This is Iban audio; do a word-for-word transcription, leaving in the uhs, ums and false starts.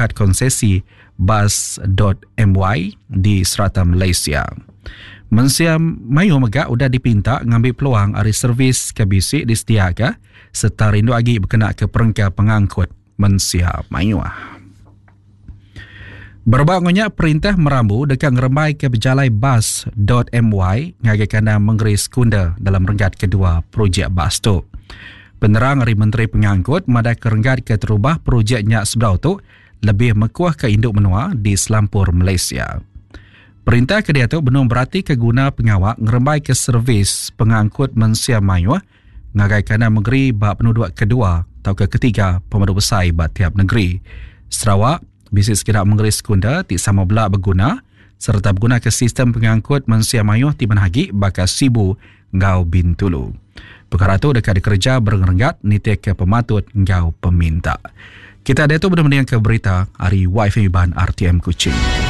kad konsesi bas.my di serata Malaysia. Mensia mayuh mega udah dipinta ngambi peluang ari servis ke bisi disediaka sereta rindu agi bekenaka perengka pengangkut mensia mayuh. Berebak enggau nya, perintah merambu deka ngerembaika pejalai bas.my ngagai kandang mengeri sekunder dalam renggat kedua projek bas tu. Penerang ari Menteri Pengangkut madahka renggat keterubah projek nya sebedau tu lebih mekuhka indu menua di selampur Malaysia. Perintah ke diatu benung beratika guna pengawa ngerembaika servis pengangkut mensia mayuh ngagai kandang mengeri ba penuduk kedua tauka ketiga pemadu besai ba tiap negeri. Sarawak bisi sekeda mengeri sekunder ti sama bela beguna sereta begunaka sistem pengangkut mensia mayuh ti manah agi baka Sibu enggau Bintulu. Pekara tu deka dikereja berenggat nitihka pematut enggau peminta. Kita diatu benung mendingka berita ari Y F M Iban R T M Kuching.